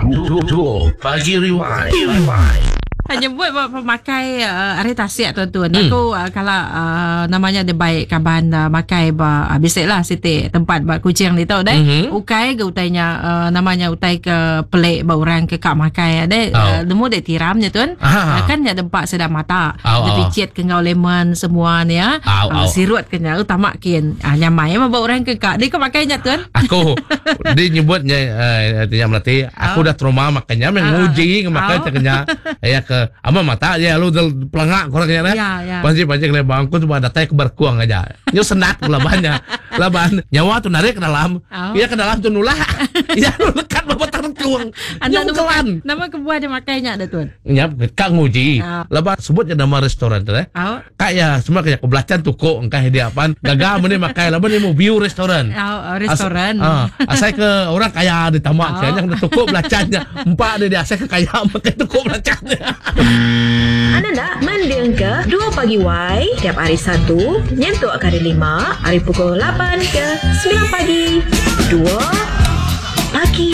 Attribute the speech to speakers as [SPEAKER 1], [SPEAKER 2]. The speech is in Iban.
[SPEAKER 1] Dua Pagi Rewind.
[SPEAKER 2] Nyebut ba pemakai uh, ari tasik tuan tuan. Hmm. Aku uh, kala uh, namanya dia baik kaban uh, makai ba uh, bisik lah siti tempat ba Kuching ni tau deh. Mm-hmm. Ukai ke utainya uh, namanya utai ke pelik ba orang ke kak makai deh. Oh. Uh, nemu dek tiram nya tuan. Uh, kan nya dempak sedap mata. Oh, oh. Dipicit ke ngau lemon semua ni ya. Oh, oh. Uh, sirut ke nya utama kin. Uh, nyamai mah ba orang ke kak. Dia kau makai nya tuan.
[SPEAKER 1] Aku dia nyebutnya uh, nya melati aku oh. dah trauma makanya meh nguji makai oh. nya. Ya ke ama mata je lalu del pelangak korang nya
[SPEAKER 2] Ya, ya.
[SPEAKER 1] Panji panji kena bang aku cuba datai ke berkuang aja. Nyu senat labannya. Laban nyawa tu narik ke dalam.
[SPEAKER 2] Oh.
[SPEAKER 1] Iya ke dalam tu nulak. Iya lu lekat ba batang rengkung.
[SPEAKER 2] Anda
[SPEAKER 1] Nyu
[SPEAKER 2] nama,
[SPEAKER 1] kelan.
[SPEAKER 2] nama kebuah dia makai nya dah tuan.
[SPEAKER 1] Nya ka nguji.
[SPEAKER 2] Oh.
[SPEAKER 1] Laban sebut je nama restoran tu eh.
[SPEAKER 2] Oh.
[SPEAKER 1] Ka iya semua ke aku belacan tukuk engkah dia pan gaga meni makai laban dia mau view restoran.
[SPEAKER 2] Oh, oh, restoran.
[SPEAKER 1] As, ah, asai ke orang kaya di tamak
[SPEAKER 2] Oh.
[SPEAKER 1] oh. nya tukuk belacan nya. Empa dia dia asai ke kaya makai tukuk belacan nya.
[SPEAKER 3] Anda enda mendingka Dua Pagi Wai tiap hari Satu nyentuk ke hari Lima ari pukul lapan ke semilan pagi. Dua Pagi.